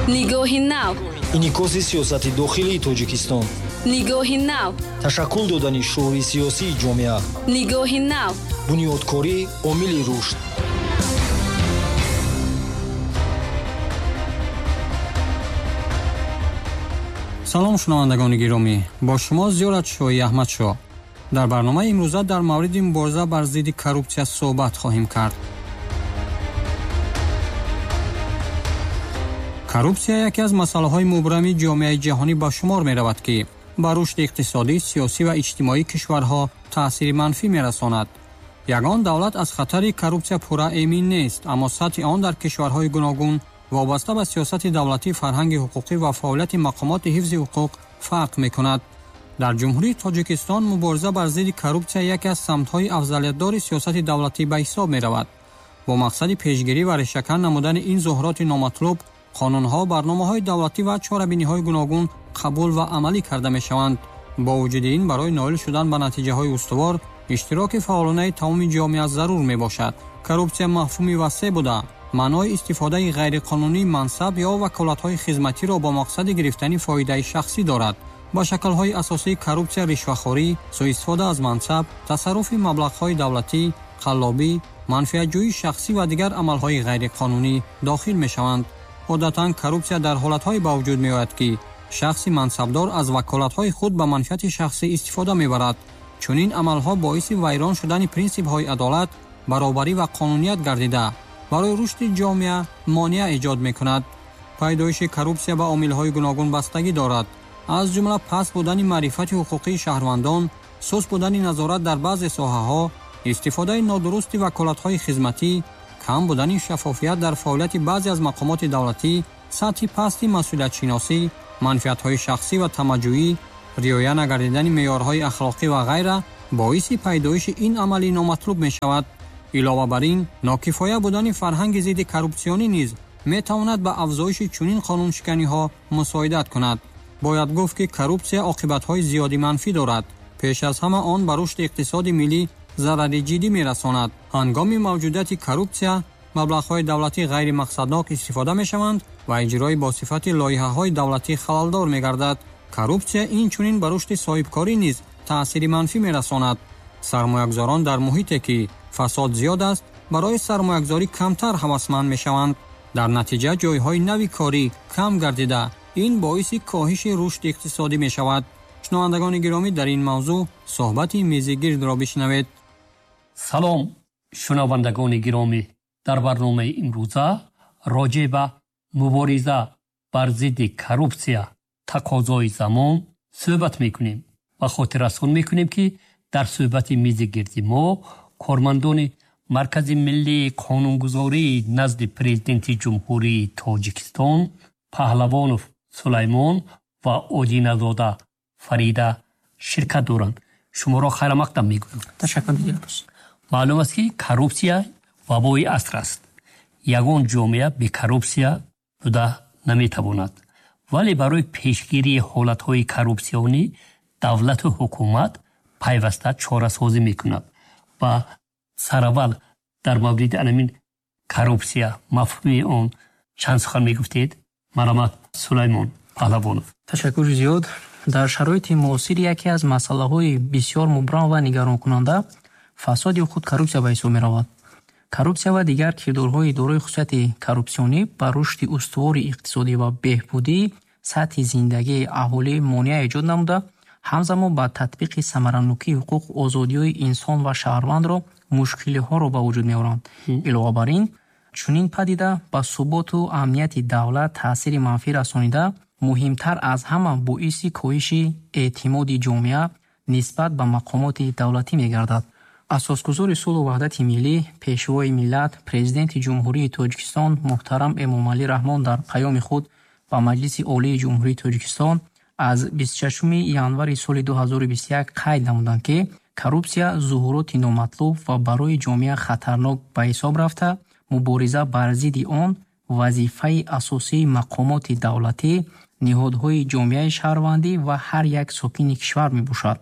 Нигоҳи нав. Инъикоси сиёсати дохилии Тоҷикистон. Нигоҳи нав. Ташаккул додани шуури сиёсии ҷомеа. Нигоҳи нав. Бунёдкорӣ омили рушд. Салом, шунавандагони гиромӣ, бо шумо Зиёратшоҳи Аҳмадшоҳ. Дар барномаи имрӯза дар мавриди мубориза бар зидди коррупсия суҳбат хоҳем кард. Коррупсия яке аз масъалаҳои мубрами ҷомеаи ҷаҳонӣ ба шумор меравад, ки ба рушди иқтисодӣ, сиёсӣ ва иҷтимоии кишварҳо таъсири манфӣ мерасонад. Ягон давлат аз хатари коррупсия пурра эмин нест, аммо сатҳи он дар кишварҳои гуногун вобаста ба сиёсати давлатӣ, фарҳанги ҳуқуқӣ ва фаъолияти мақомоти ҳифзи ҳуқуқ фарқ мекунад. Дар Ҷумҳурии Тоҷикистон мубориза бар зидди коррупсия яке аз самтҳои афзалиятдори сиёсати давлатӣ ба ҳисоб меравад. Бо мақсади пешгирӣ ва решакан намудани ин зуҳуроти номатлуб, қонунҳо, барномаҳои давлатӣ ва чорабиниҳои гуногун қабул ва амалӣ карда мешаванд. Бо вуҷуди ин, барои ноил шудан ба натиҷаҳои устувор, иштироки фаъолонаи тамоми ҷомеа зарур мебошад. Коррупсия мафҳуми васеъ буда, маънои истифодаи ғайриқонунии мансаб ё ваколатҳои хизматиро бо мақсади гирифтани фоидаи шахсӣ дорад. Ба шаклҳои асосии коррупсия ришвахорӣ, суистифода аз мансаб, тасарруфи маблағҳои давлатӣ, қаллобӣ, манфиатҷӯии шахсӣ ва дигар амалҳои ғайриқонунӣ дохил мешаванд. Одатан коррупсия дар ҳолатҳое ба вуҷуд меояд, ки шахси мансабдор аз ваколатҳои худ ба манфиати шахсӣ истифода мебарад. Чунин амалҳо боиси вайрон шудани принсипҳои адолат, баробарӣ ва қонуният гардида, барои рушди ҷомеа монеа эҷод мекунад. Пайдоиши коррупсия ба омилҳои гуногун бастагӣ дорад, аз ҷумла паст будани маърифати ҳуқуқии шаҳрвандон, суст будани назорат дар баъзе соҳаҳо, истифодаи нодурусти ваколатҳои хизматӣ, кам будани шаффофият дар фаъолияти баъзе аз мақомоти давлатӣ, сатҳи пасти масъулиятшиносӣ, манфиатҳои шахсӣ ва тамаҷҷӯӣ, риоя нагардидани меъёрҳои ахлоқӣ ва ғайра боиси пайдоиши ин амали номатлуб мешавад. Илова бар ин, нокифоя будани фарҳанги зидди коррупсионӣ низ метавонад ба афзоиши чунин қонуншиканиҳо мусоидат кунад. Бояд гуфт, ки коррупсия оқибатҳои зиёди манфӣ дорад. Пеш аз ҳама он ба рушди иқтисоди миллӣ зарари ҷиддӣ мерасонад. Ҳангоми мавҷудияти коррупсия маблағҳои давлатӣ ғайримақсаднок истифода мешаванд ва иҷрои бо сифати лоиҳаҳои давлатӣ халалдор мегардад. Коррупсия инчунин ба рушди соҳибкорӣ низ таъсири манфӣ мерасонад. Сармоягузорон дар муҳите, ки фасод зиёд аст, барои сармоягузорӣ камтар ҳавасманд мешаванд. Дар натиҷа ҷойҳои нави корӣ кам гардида, ин боиси коҳиши рушди иқтисодӣ мешавад. Шунавандагони гиромӣ, дар ин мавзӯъ суҳбати мизигирдро бишнавед. Салом, шунавандагони гиромӣ. Дар барномаи имрӯза роҷеъ ба мубориза бар зидди коррупсия, тақозои замон суҳбат мекунем ва хотиррасон мекунем, ки дар суҳбати мизигирди мо кормандони Маркази миллии қонунгузории назди Президенти Ҷумҳурии Тоҷикистон Паҳлавонов Сулаймон ва Одиназода Фарида ширкат доранд. Шуморо хайрамақдам мегӯям. Ташаккур. Маълум аст, ки коррупсия вабои аср аст. Ягон ҷомеа бе коррупсия буда наметавонад. Вале барои пешгирии ҳолатҳои коррупсионӣ давлату ҳукумат пайваста чорасозӣ мекунад ва сараввал дар мавриди анамин коррупсия, мафҳуми он чанд сухан мегуфтед? Марҳамат, Сулаймон Паҳлавонов. Ташаккури зиёд. Дар шароити муосир яке аз масъалаҳои бисёр мубрам ва нигаронкунанда фасод ё худ коррупсия ба ҳисоб меравад. Коррупсия ва дигар кирдорҳои дорои хусусияти коррупсионӣ ба рушди устувори иқтисодӣ ва беҳбудии сатҳи зиндагии аҳолӣ монеа эҷод намуда, ҳамзамон ба татбиқи самаранокии ҳуқуқ, озодиҳои инсон ва шаҳрвандро мушкилиҳоро ба вуҷуд меоранд. Илова бар ин, чунин падида ба суботу амнияти давлат таъсири манфӣ расонида, муҳимтар аз ҳама боиси коҳиши эътимоди ҷомеа нисбат ба мақомоти давлатӣ мегардад. Асосгузори сулҳу ваҳдати миллӣ, Пешвои миллат, Президенти Ҷумҳурии Тоҷикистон муҳтарам Эмомалӣ Раҳмон дар паёми худ ба Маҷлиси Олии Ҷумҳурии Тоҷикистон аз 26 январи соли 2021 қайд намуданд, ки коррупсия зуҳуроти номатлуб ва барои ҷомеа хатарнок ба ҳисоб рафта, мубориза бар зидди он вазифаи асосии мақомоти давлатӣ, ниҳодҳои ҷомеаи шаҳрвандӣ ва ҳар як сокини кишвар мебошад.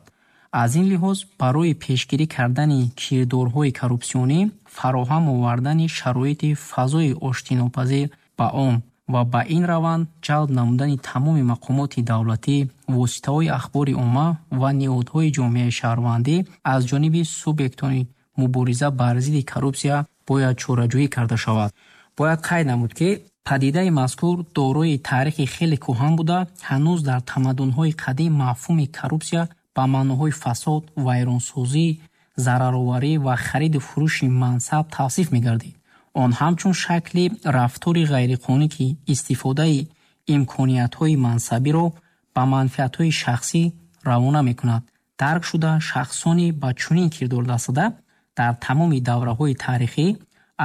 Аз ин лиҳоз барои пешгирӣ кардани кирдорҳои коррупсионӣ, фароҳам овардани шароити фазои оштинопазир ба он Ва ба ин раванд ҷалб намудани тамоми мақомоти давлатӣ, воситаҳои ахбори омма ва ниҳодҳои ҷомеаи шаҳрвандӣ аз ҷониби субъектони мубориза бар зидди коррупсия бояд чораҷӯӣ карда шавад. Бояд қайд намуд, ки падидаи мазкур дорои таърихи хеле кӯҳан буда, ҳанӯз дар тамаддунҳои қадим мафҳуми коррупсия ба маъноҳои фасод, вайронсозӣ, зарароварӣ ва хариду фурӯши мансаб тавсиф мегардид. Он ҳамчун шакли рафтори ғайриқонунӣ, ки истифодаи имкониятҳои мансабиро ба манфиатҳои шахсӣ равона мекунад, дарк шуда, шахсони ба чунин кирдор даст зада дар тамоми давраҳои таърихӣ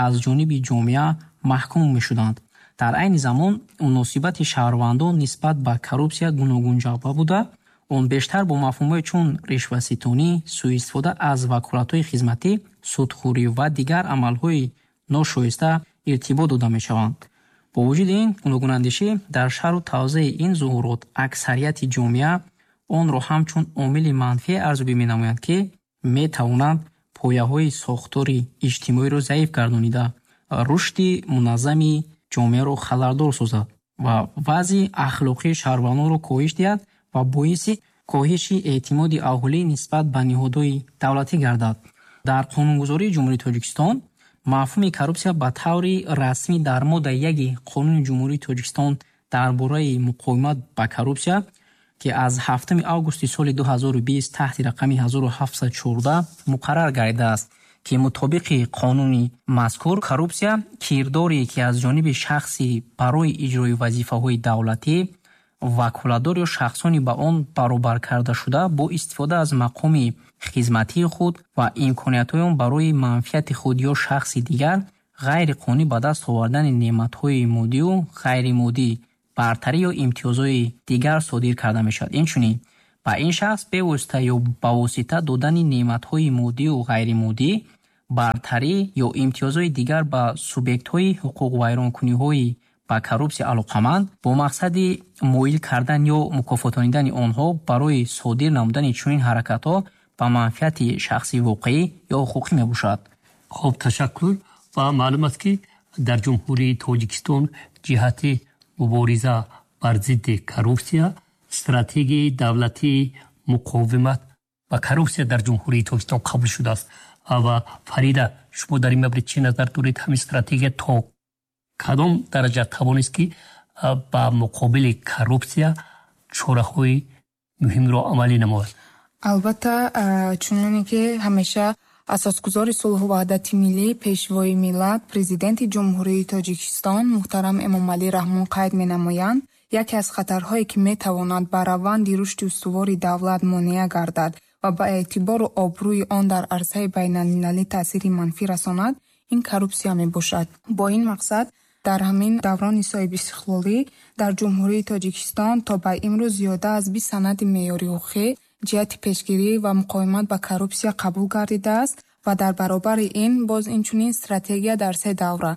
аз ҷониби ҷомеа маҳкум мешуданд. Дар айни замон муносибати шаҳрвандон нисбат ба коррупсия гуногунҷанба буда, он бештар бо мафҳумҳои чун ришваситонӣ, сӯистифода аз ваколатҳои хизматӣ, судхӯрӣ ва дигар амалҳои ношоиста иртибот дода мешаванд. Бо вуҷуди ин гуногунандешӣ дар шарҳу тавзеҳи ин зуҳурот, аксарияти ҷомеа онро ҳамчун омили манфие арзёбӣ менамоянд, ки метавонанд пояҳои сохтори иҷтимоиро заиф гардонида, рушди муназзами ҷомеаро халалдор созад ва вазъи ахлоқии шаҳрвандонро коҳиш диҳад ва боиси коҳиши эътимоди аҳолӣ нисбат ба ниҳодҳои давлатӣ гардад. Дар қонунгузории Ҷумҳурии Тоҷикистон мафҳуми коррупсия ба таври расмӣ дар моддаи 1 Қонуни Ҷумҳурии Тоҷикистон дар бораи муқовимат ба коррупсия, ки аз 7 августи соли 2020 таҳти рақами 1714 муқаррар гардидааст, ки мутобиқи қонуни мазкур коррупсия кирдоре, ки аз ҷониби шахси барои иҷрои вазифаҳои давлатӣ ваколатдор ё шахсони ба он баробар кардашуда бо истифода аз мақоми хизматии худ ва имкониятҳои он барои манфиати худ ё шахси дигар ғайриқонунӣ ба даст овардани неъматҳои моддию ғайримоддӣ, бартарӣ ё имтиёзҳои дигар содир карда мешавад. Инчунин ба ин шахс бевосита ё ба восита додани неъматҳои моддию ғайримоддӣ, бартарӣ ё имтиёзҳои дигар ба субъектҳои ҳуқуқвайронкуниҳои ба коррупсия алоқаманд бо мақсади моил кардан ё мукофотонидани онҳо барои содир намудани чунин ҳаракатҳо ба манфиати шахси воқеӣ ё ҳуқуқӣ мебошад. Хуб, ташаккур. Ва маълум аст, ки дар Ҷумҳурии Тоҷикистон ҷиҳати мубориза бар зидди коррупсия стратегияи давлатии муқовимат ба коррупсия дар Ҷумҳурии Тоҷикистон қабул шудааст. Ва Фарида, шумо дар ин маврид чӣ назар доред? Ҳамин стратегия то кадом дараҷа тавонист, ки ба муқобили коррупсия чораҳои муҳимро амалӣ намояд? Албатта, чуноне ки ҳамеша асосгузори сулҳу ваҳдати миллӣ, Пешвои миллат, Президенти Ҷумҳурии Тоҷикистон муҳтарам Эмомалӣ Раҳмон қайд менамоянд, яке аз хатарҳое, ки метавонад ба раванди рушди устувори давлат монеа гардад ва ба эътибору обрӯи он дар арсаи байналмилалӣ таъсири манфӣ расонад, ин коррупсия мебошад. Бо ин мақсад дар ҳамин даврони соҳибистиқлолӣ дар Ҷумҳурии Тоҷикистон то ба имрӯз зиёда аз 20 санади меъёрии ҳуқуқӣ ҷиҳати пешгирӣ ва муқовимат ба коррупсия қабул гардидааст ва дар баробари ин боз инчунин стратегия дар се давра.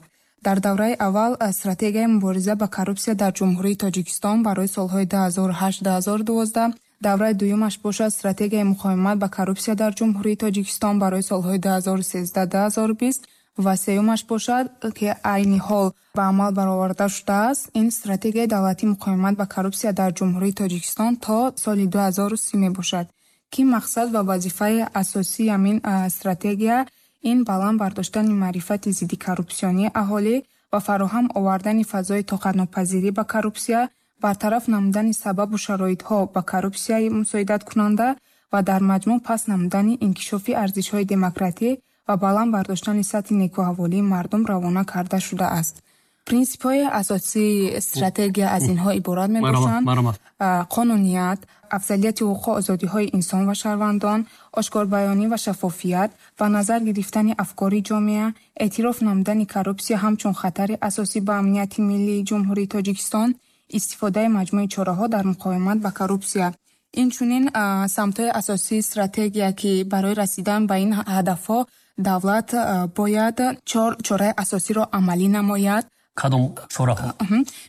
Дар давраи аввал стратегияи мубориза ба коррупсия дар Ҷумҳурии Тоҷикистон барои солҳои 2008-2012, давраи дуюмаш бошад стратегияи муқовимат ба коррупсия дар Ҷумҳурии Тоҷикистон барои солҳои 2013-2020 ва сеюмаш бошад, ки айни ҳол ба амал бароварда шудааст, ин стратегияи давлатии муқовимат ба коррупсия дар Ҷумҳурии Тоҷикистон то соли 2030 мебошад, ки мақсад ва вазифаи асосии ҳамин стратегия ин баланд бардоштани маърифати зидди коррупсионии аҳолӣ ва фароҳам овардани фазои тоқатнопазирӣ ба коррупсия, бартараф намудани сабабу шароитҳо ба коррупсияи мусоидаткунанда ва дар маҷмӯъ паст намудани инкишофи арзишҳои демократӣ ва баланд бардоштани сатҳи некӯаҳволии мардум равона карда шудааст. Принсипҳои асосии стратегия аз инҳо иборат мебошанд: қонуният, афзалияти ҳуқуқу озодиҳои инсон ва шаҳрвандон, ошкорбаёнӣ ва шаффофият, ба назар гирифтани афкори ҷомеа, эътироф намудани коррупсия ҳамчун хатари асосӣ ба амнияти миллии Ҷумҳурии Тоҷикистон, истифодаи маҷмӯи чораҳо дар муқовимат ба коррупсия. Инчунин самтҳои асосии стратегия, ки барои расидан ба ин ҳадафҳо давлат бояд чор чораи асосиро амалӣ намояд. Кадом чораҳо?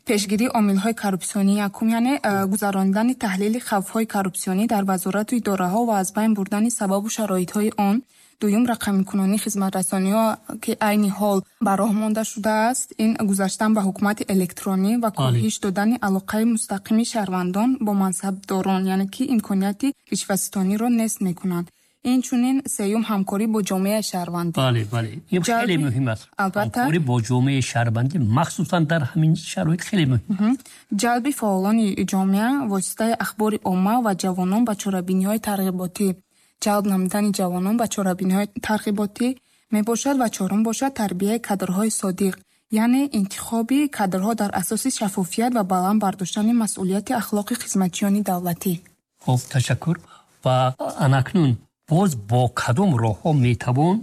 Пешгирии омилҳои коррупсионӣ якум, яъне гузаронидани таҳлили хавфҳои коррупсионӣ дар вазорату идораҳо ва аз байн бурдани сабабу шароитҳои он. Дуюм, рақамикунонии хизматрасониҳо, ки айни ҳол ба роҳ монда шудааст, ин гузаштан ба ҳукумати электронӣ ва коҳиш додани алоқаи мустақими шаҳрвандон бо мансабдорон, яъне ки имконияти ришватситониро нест мекунанд. Инчунин сеюм, ҳамкорӣ бо ҷомеаи шаҳрвандӣ. Бале, бале, ин хеле муҳим аст. Албатта. Ҳамкорӣ бо ҷомеаи шаҳрвандӣ махсусан дар ҳамин шароит хеле муҳим. Ҷалби фаъолони ҷомеа воситаи ахбори омма ва ҷавонон ба чорабиниҳои тарғиботӣ, ҷалб намудани ҷавонон ба чорабиниҳои тарғиботӣ мебошад. Ва чорум бошад тарбияи кадрҳои содиқ, яъне интихоби кадрҳо дар асоси шаффофият ва баланд бардоштани масъулияти ахлоқи хизматчиёни давлатӣ. Хуб, ташаккур. Ва анакнун боз бо кадом роҳҳо метавон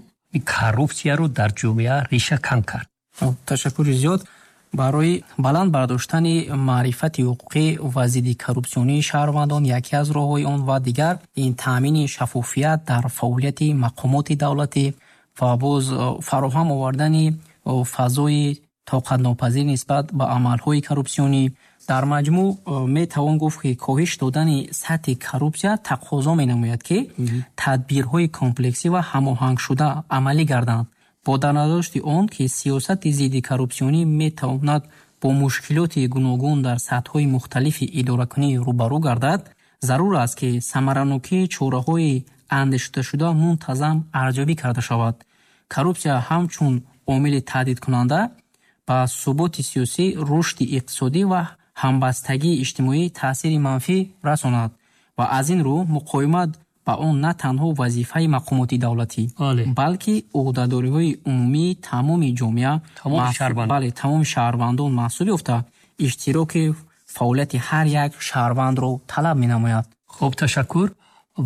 коррупсияро дар ҷомеа реша кан кард? Ташаккури зиёд. Барои баланд бардоштани маърифати ҳуқуқӣ ва зидди коррупсионии шаҳрвандон яке аз роҳҳои он ва дигар ин таъмини шаффофият дар фаъолияти мақомоти давлатӣ ва боз фароҳам овардани фазои тоқатнопазир нисбат ба амалҳои коррупсионӣ. Дар маҷмӯъ метавон гуфт, ки коҳиш додани сатҳи коррупсия тақозо менамояд, ки тадбирҳои комплексӣ ва ҳамоҳангшуда амалӣ гарданд, бо дарназардошти он ки сиёсати зидди коррупсионӣ метавонад бо мушкилоти гуногун дар сатҳҳои мухталифи идоракунӣ рӯбарӯ гардад. Зарур аст, ки самаранокии чораҳои андешидашуда мунтазам арзёбӣ карда шавад. Коррупсия ҳамчун омили таҳдидкунанда ба суботи сиёсӣ, рушди иқтисодӣ ва ҳамбастагии иҷтимоӣ таъсири манфӣ расонад ва аз ин рӯ муқовимат ба он на танҳо вазифаи мақомоти давлатӣ, балки ӯҳдадориҳои умумии тамоми ҷомеа, бале, тамоми шаҳрвандон маҳсуб ёфта, иштироки фаъолияти ҳар як шаҳрвандро талаб менамояд. Хуб, ташаккур.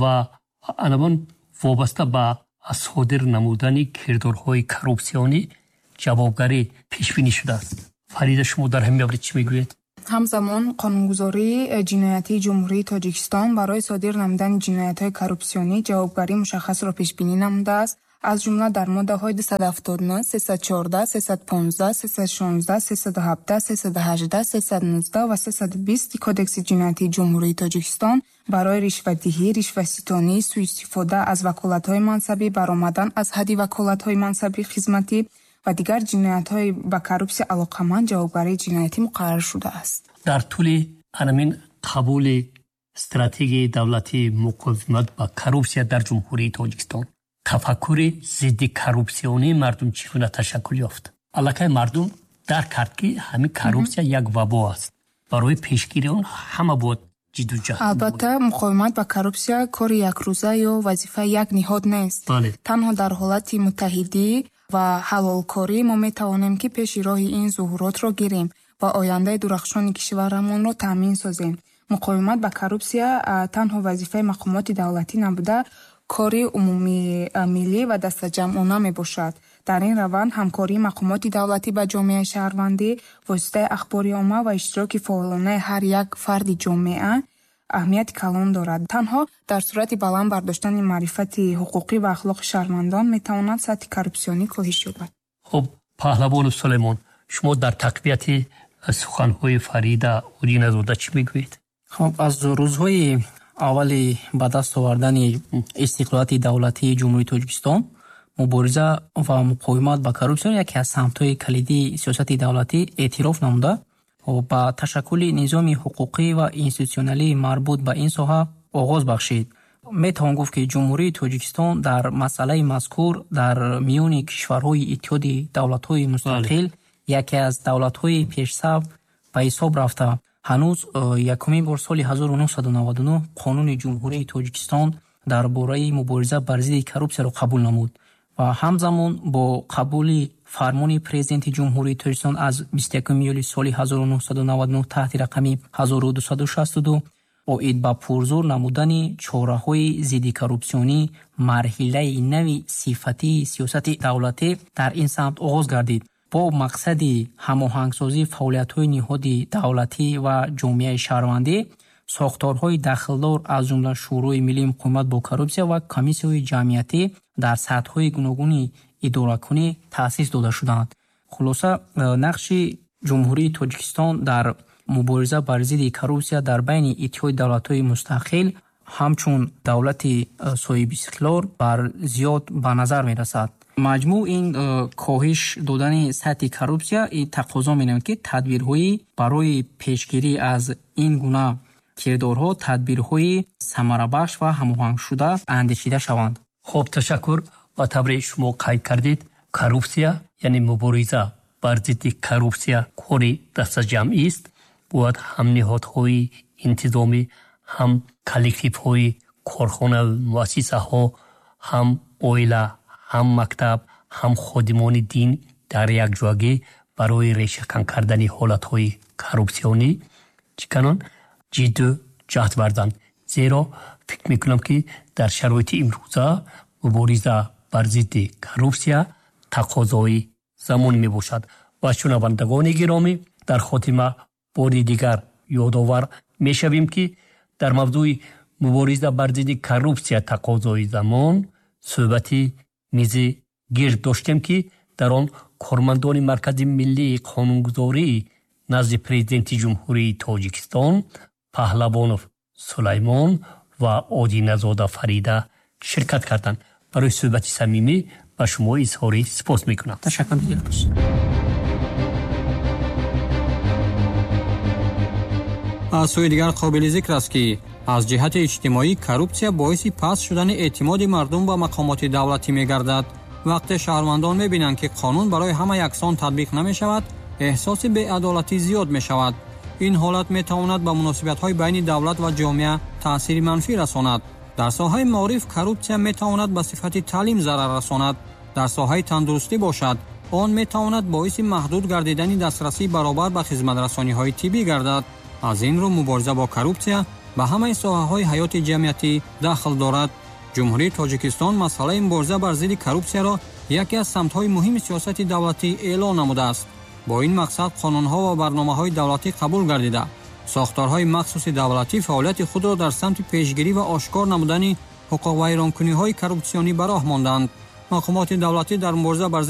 Ва анавон вобаста ба содир намудани кирдорҳои коррупсионӣ ҷавобгарӣ пешбинӣ шудааст. Фарида, шумо дар ҳамин маврид чӣ мегӯед? Ҳамзамон қонунгузории ҷиноятии Ҷумҳурии Тоҷикистон барои содир намудани ҷиноятҳои коррупсионӣ ҷавобгарии мушаххасро пешбинӣ намудааст. Аз ҷумла дар моддаҳои 279, 314, 315, 316, 317, 318, 319 ва 320 Кодекси ҷиноятии Ҷумҳурии Тоҷикистон барои ришватдиҳӣ, ришватситонӣ, суистифода аз ваколатҳои мансабӣ, баромадан аз ҳадди ваколатҳои мансабӣ хизматӣ ва дигар ҷиноятҳои ба коррупсия алоқаманд ҷавобгарии ҷиноятӣ муқаррар шудааст. Дар тӯли анамин қабули стратегияи давлатии муқовимат ба коррупсия дар Ҷумҳурии Тоҷикистон тафаккури зидди коррупсионии мардум чӣ гуна ташаккул ёфт? Аллакай мардум дарк кард, ки ҳамин коррупсия як вабо аст. Барои пешгирии он ҳама бояд ҷидду ҷаҳд. Албатта, муқовимат ба коррупсия кори якрӯза ё вазифаи як ниҳод нест. Танҳо дар ҳолати муттаҳидӣ ва ҳалолкорӣ мо метавонем, ки пеши роҳи ин зуҳуротро гирем ва ояндаи дурахшони кишварамонро таъмин созем. Муқовимат ба коррупсия танҳо вазифаи мақомоти давлатӣ набуда, кори умумимиллӣ ва дастаҷамъона мебошад. Дар ин раванд ҳамкории мақомоти давлатӣ ба ҷомеаи шаҳрвандӣ, воситаи ахбори омма ва иштироки фаъолонаи ҳар як фарди ҷомеа аҳамияти калон дорад. Танҳо дар сурати баланд бардоштани маърифати ҳуқуқӣ ва ахлоқи шаҳрвандон метавонад сатҳи коррупсионӣ коҳиш ёбад. Хуб, Паҳлавону Сулаймон, шумо дар тақвияти суханҳои Фарида Удиназода чӣ мегӯед? Хуб, аз рӯзҳои аввали ба даст овардани истиқлолияти давлатии Ҷумҳурии Тоҷикистон мубориза ва муқовимат ба коррупсия яке аз самтҳои калидии сиёсати давлатӣ эътироф намуда, ба ташаккули низоми ҳуқуқӣ ва институтсионалии марбут ба ин соҳа оғоз бахшид. Метавон гуфт, ки Ҷумҳурии Тоҷикистон дар масъалаи мазкур дар миёни кишварҳои Иттиҳоди давлатҳои мустақил яке аз давлатҳои пешсаф ба ҳисоб рафта, ҳанӯз якумин бор соли 1999 Қонуни Ҷумҳурии Тоҷикистон дар бораи мубориза бар зидди коррупсияро қабул намуд ва ҳамзамон бо қабули фармони Президенти Ҷумҳурии Тоҷикистон аз 21 июли соли 1999 таҳти рақами 1262 оид ба пурзур намудани чораҳои зидди коррупсионӣ марҳилаи нави сифатии сиёсати давлатӣ дар ин самт оғоз гардид. Бо мақсади ҳамоҳангсозии фаъолиятҳои ниҳоди давлатӣ ва ҷомеаи шаҳрвандӣ, сохторҳои дахлдор, аз ҷумла Шӯрои миллии муқовимат бо коррупсия ва комиссияҳои ҷамъиятӣ дар сатҳҳои гуногуни идоракунӣ таъсис дода шуданд. Хулоса, нақши Ҷумҳурии Тоҷикистон дар мубориза бар зидди коррупсия дар байни Иттиҳоди давлатҳои мустақил Ҳамчун давлати соҳибистиқлол бар зиёд ба назар мерасад. Маҷмӯъ ин коҳиш додани сатҳи коррупсия тақозо менамояд, ки тадбирҳои барои пешгирӣ аз ин гуна кирдорҳо тадбирҳои самарабахш ва ҳамоҳангшуда андешида шаванд. Хуб, ташаккур. Ба тавре шумо қайд кардед, коррупсия, яъне мубориза бар зидди коррупсия кори дастаҷамъист. Бояд ҳам ниҳодҳои интизомӣ, ҳам коллективҳои корхона, муассисаҳо, ҳам оила, ҳам мактаб, ҳам ходимони дин дар якҷоягӣ барои решакан кардани ҳолатҳои коррупсионӣ чӣ канон ҷидду ҷаҳд варзанд. Зеро фикр мекунам, ки дар шароити имрӯза мубориза бар зидди коррупсия тақозои замон мебошад. Ва шунавандагони гиромӣ, дар хотима бори дигар ёдовар мешавем, ки дар мавзӯи мубориза бар зидди коррупсия тақозои замон суҳбати мизи гирд доштем, ки дар он кормандони Маркази миллии қонунгузории назди Президенти Ҷумҳурии Тоҷикистон Паҳлавонов Сулаймон ва Одиназода Фарида ширкат карданд. Барои суҳбати самимӣ ба шумо изҳори сипос мекунам. Ташаккур. Аз сӯи дигар қобили зикр аст, ки аз ҷиҳати иҷтимоӣ коррупсия боиси паст шудани эътимоди мардум ба мақомоти давлатӣ мегардад. Вақте шаҳрвандон мебинанд, ки қонун барои ҳама яксон татбиқ намешавад, эҳсоси беадолатӣ зиёд мешавад. Ин ҳолат метавонад ба муносибатҳои байни давлат ва ҷомеа таъсири манфӣ расонад. Дар соҳаи маориф коррупсия метавонад ба сифати таълим зарар расонад. Дар соҳаи тандурустӣ бошад, он метавонад боиси маҳдуд гардидани дастрасии баробар ба хизматрасониҳои тиббӣ гардад. Аз ин рӯ мубориза бо коррупсия ба ҳамаи соҳаҳои ҳаёти ҷамъиятӣ дахл дорад. Ҷумҳурии Тоҷикистон масъалаи мубориза бар зидди коррупсияро яке аз самтҳои муҳими сиёсати давлатӣ эълон намудааст. Бо ин мақсад қонунҳо ва барномаҳои давлатӣ қабул гардида, сохторҳои махсуси давлатӣ фаъолияти худро дар самти пешгирӣ ва ошкор намудани ҳуқуқвайронкуниҳои коррупсионӣ ба роҳ монданд. Мақомоти давлатӣ дар мубориза бар зидди